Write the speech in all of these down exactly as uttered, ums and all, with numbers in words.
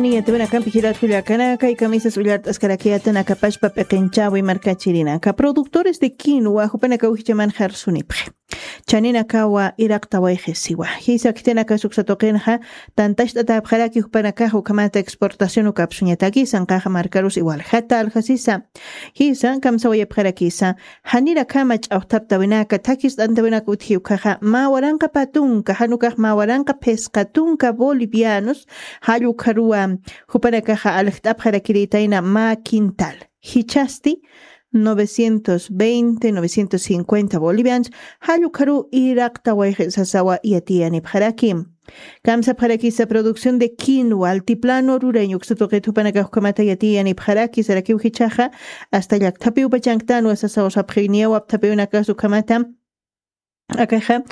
Niya tibinakampi jilat kullakanaka y kamisas ullart'askarakiyatana kapashpa p'iqinchawi markachirinaka productores de quinoa jupanakaw jichaman jarsunipxi. Chaninakawa iraqtawayxisiwa jisa khitinakasuksa tuqinxa tantacht'atapxaraki jupanakaxa ukhamata exportación ukapsuñataki sanqaxa markarus iwaljata aljasisa. Jisa kamsawayapxarakisa janirakhama ch'awjtaptawinaka thakist'antawinaka utji ukhaxa mä waranqa patunka janukax mä waranqa phisqa tunka bolivianos. Jall ukharuwa jupanakaxa aljt'apxarakiritayna mä quintal jichhasti novecientos veinte novecientos cincuenta bolivianos. Jall ukharuw iraqtawayxi sasawa yatiyanipxaraki. Kamsapxarakisa producción de quinoa altiplano rureño uksa tuqit jupanakax ukhamata yatiyanipxaraki sarakiw jichhaxa asta llakthapiw pachanktanwa sasaw sapxi niyaw apthapiwinakas ukhamata. Akaxa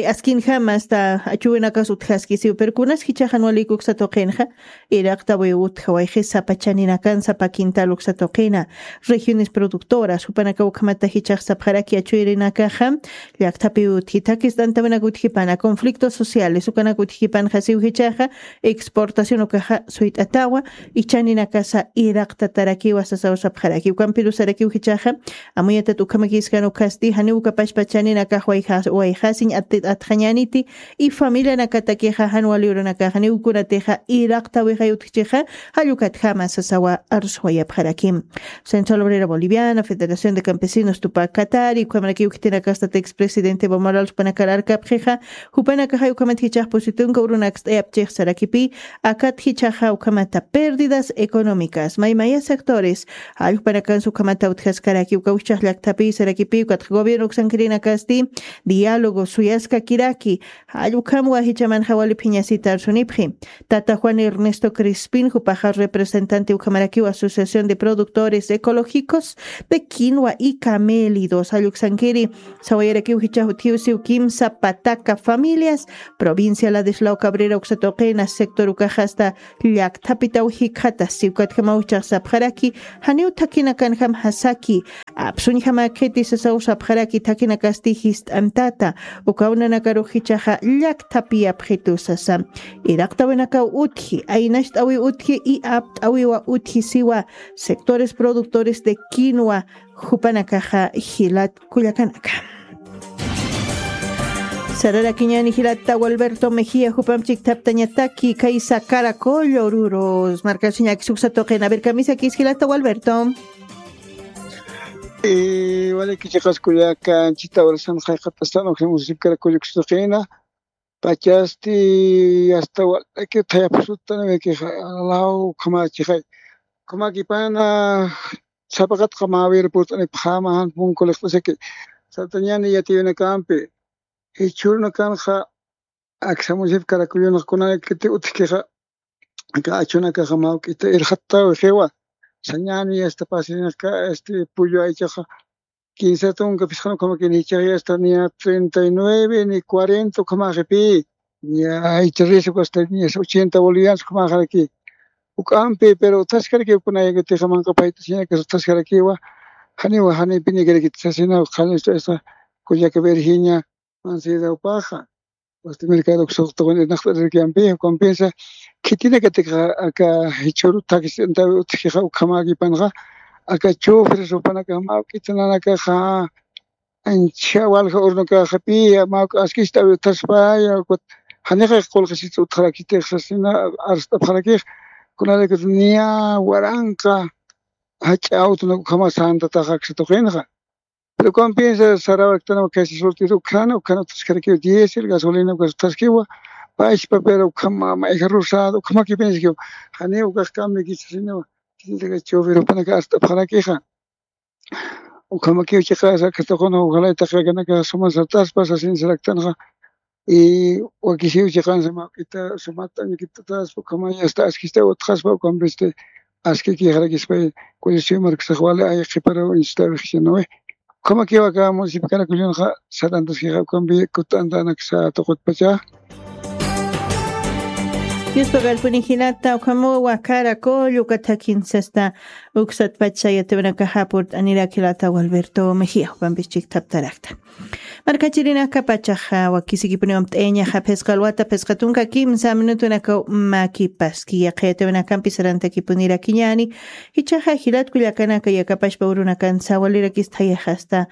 askinjama asta achuwinakas utjaskisiw pero kunas jichhaxan walikuksa tuqinxa iraqtawiw utjawayxi sapa chaninakan sapa quintal uksa tuqina. Regiones productoras jupanakaw ukhamata jichhax sapxaraki achuyrinakaxa llakthapiw utji thakist'antawinaka utjipana conflictos sociales ukanaka utjipanxasiw jichhaxa exportación ukaxa suyt'atawa. Ichaninakasa iraqtatarakiwa sasaw sapxaraki ukampirusarakiw jichhaxa amuyatat ukhamakiskan ukhasti janiw ukapashpa chaninakax wayxasiñ atxañaniti. Y familianakatakixa jan wali urunakaxa niwkunatixa iraqtawixay utjichixa jallukatjama sasawa arswayapxaraki. Central obrera boliviana federación de campesinos tupak katari ukhamarakiw khitinakastat expresidente bomoral jupanakar arkapxixa jupanakaxay ukhamat jichhax pusi tunka urunakst'ayapchix sarakipï. Akat jichhaxa ukhamata pérdidas económicas maymaya sectores jallpanakansa ukhamata utjaskaraki uka ujchax llakthapi sarakipï ukatxa gobierno uksankirinakasti diálogo suyaskakiraki. Jall ukhamwa jichhamanxa wali phiñasita arsunipxi. Tata juan ernesto crispin jupaxa representante ukhamarakiw asociación de productores ecológicos de quinoa y camélidos jall uksankiri sawayarakiw jichhax utjiw siw kimsa pataka familias provincia ladislao cabrera uksa tuqina sector ukaxasta llakthapitaw jikxata siwkatjamaw jichhax sapxaraki. Janiw thakinakanjam jasaki apsuñjamäkhiti sasaw sapxaraki thakinakasti jist'antata. Ukaw nanakarux jichhaxa llakthapiyapxitu sasa iraqtawinakaw utji aynacht'awiw utji y apt'awiwa utji siwa sectores productores de quinoa jupanakaxa jilat kullakanaka. Sararakiñani jilata walberto mejia jupam chikthaptañataki kaysa karakollo rurus markasiñakis uksa tuqin a ver kamisakis jilata walberto. Waliki chiqas kullaka anchita urasan jayqatastan uksa municipio karakollo uksa tuqina pachasti asta walaki thayapsutanwikixa alaw ukhamachixay ukhamakipana sapaqatqa mawir purt'anipxama jan punku liqt'asaki. Satañani yatiyunakampi jichhurnakanxa aksa municipio karakullunaq kunanakiti utjkixa aka achunakaxa mawk'ita irxattawixiwa. Sañani asta pasinaka este pullu aychaxa quince tunka phisqan ukhamakini jichhaxa asta niya treinta y nueve ni cuarenta ukhamaxipï. Niya aycha risa asta niya ochenta bolivianos ukhamaxaraki. Uk'ampi pero utjaskarakiw kunayakatixa manqapayt'asiñakas utjaskarakiwa. Janiwa janipinikarakiti sasina qhalistu esta kullaka virginia mansidawpaxa wasti mercado uksuqtuqun irnaqt'arirkiyampi ukampinsa khitinakatikaxa aka jichhuru thakisint'antawi utjkixa ukhamäkipanxa aka chufres jupanakax mawk'ita nanakaxa ancha walja urnukaxapi mawk'a askista awi utjaspaya ukat janixa qullqisita utjarakitix sasina arst'apxarakix. Kunalaykut niya waranqa jach'a awtunak ukhama santataxa aksa tuqinxa pero ukampinsa sarawaktanwa kaysa surtir ukhana ukhana utjaskarakiw diésel gasolina ukas utjaskiwa. Pachpa pero ukhama mayja rosado ukhamakipinskiw janiw ukax kambikichasiniwa. Kinitaka chufir jupanaka arst'apxarakixa ukhamakiw chiqasa akhatuquna ujalaytaq yakanaka suma sartaspa sasin saraktanxa. Y wakisiw chiqansa mawk'ita sumata añakitataspa ukhamaya asta askista utjaspa ukampisti askikixarakispay. Kullisiw markasax wali ay qhiparaw inchitawixichanawi ukhamakiw aka municipio karakullunxa sarantaskixa ukampi kut'antanaksa tuqutpacha. Yuspagarpuni jilata ukhamuwa karakull ukatakin sasta uksatpach sayatiwanakaxa purt'anirak jilata Gualberto Mejía jupampis chikthaptarakta. Markachirinaka pachaxa wakisikipuniwam t'eñaxa phisqa alwata phisqa tunka kimsa minutunaka makipaski yaqayatiwanakampi sarantakipunirakiñani. Jichaxa jilatkullakanaka yakapashpa urunakan sawalirakis thayaxasta.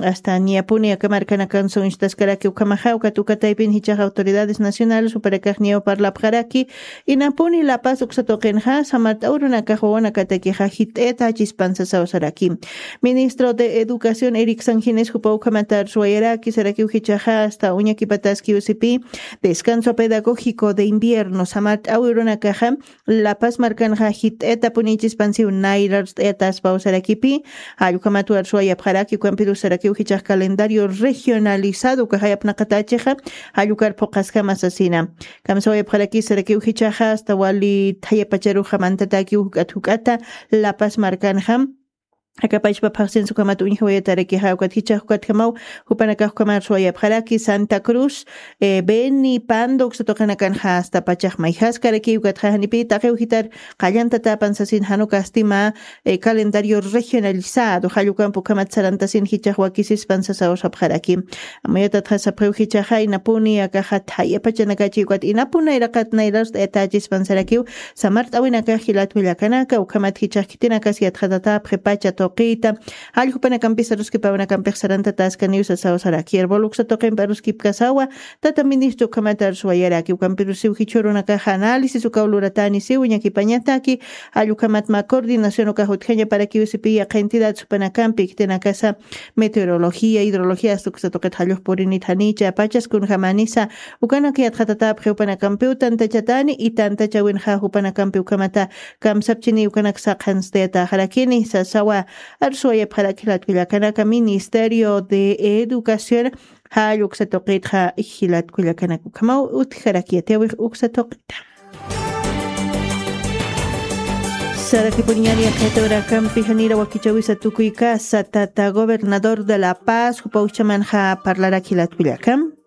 Hasta niyapuni aka markanakan suñchtaskaraki ukhamaxa ukat ukataypin jichaxa autoridades nacionales jupanakax niyaw parlapxaraki. Inapuni lapas uksatuqinxa samart'awrunakax wawanakatakixa jit'ayatachispan sasaw saraki. Ministro de educación eric sanginis jupa ukhamata arsuwayaraki sarakiw jichaxa asta uñakipataskiw sipi descanso pedagógico de invierno samart'awrunakaxa lapas markanxa jit'ayatapuni ichispansiw nayra arst'ayataspaw sarakipi. Jallukhamat warsuwayapxaraki ukampirus sarakiw jichax calendario regionalizado ukaxayapnaqatachixa jallukar phuqaskama sasina. Kamsawayapxaraki sarakiw jichaxa asta wali thayapacharuxa mantatakiw juk'at juk'ata lapas markanxam akapachpa phaxsinsa ukhamat uñjawayatarakixa ukat jichax ukatjamaw jupanakax ukhamar suwayapxaraki santa cruz beni pando uksatuqinakanxa asta pachax mayjaskarakiw ukatxa janipi taqiw jitar qallantatapan sasin janukastima calendario regionalizado jallukampa ukhamat sarantasin jichax wakisispan sasawsapxaraki. Amuyatatxa sapxiw jichaxa inapuni akaxa thayapachanakachi ukat inapunayraqat nayrarst'ayatachispan sarakiw samart'awinakax jilatkullakanaka ukhamat jichax khitinakas yatxatatapxi pacha tuqita. Jalljupanakampis aruskipawanakampix sarantataskaniw sasaw saraki erbol uksa tuqimpi aruskipkasawa. Tata ministro ukhamat arsuwayaraki ukampirusiw jichhurunakax análisis ukaw luratani siw ñakipañataki. Jallukhamat mä coordinación ukax utjañaparakiw sipi yaqha entidad supanakampi khitinakasa meteorología hidrología asta uksa tuqit jallux purinit janicha pachas kunjamanisa ukanak yatxatatapxi upanakampiw tantachatani y tantachawinxa jupanakampi ukhamata kamsapchini ukanak saqhanstayataxarakini sasawa. Arsuwayapxarak jilatkullakanaka ministerio de educación jall uksa tuqitxa jilatkullakanaka ukhamaw utjarak yatiyawix uksa tuqita. Sarakipuniñani yaqhayatawrakampi janira wakichawisa tukuykasa tata gobernador de la paz jupa ukchamanxa parlarak jilatkullakam.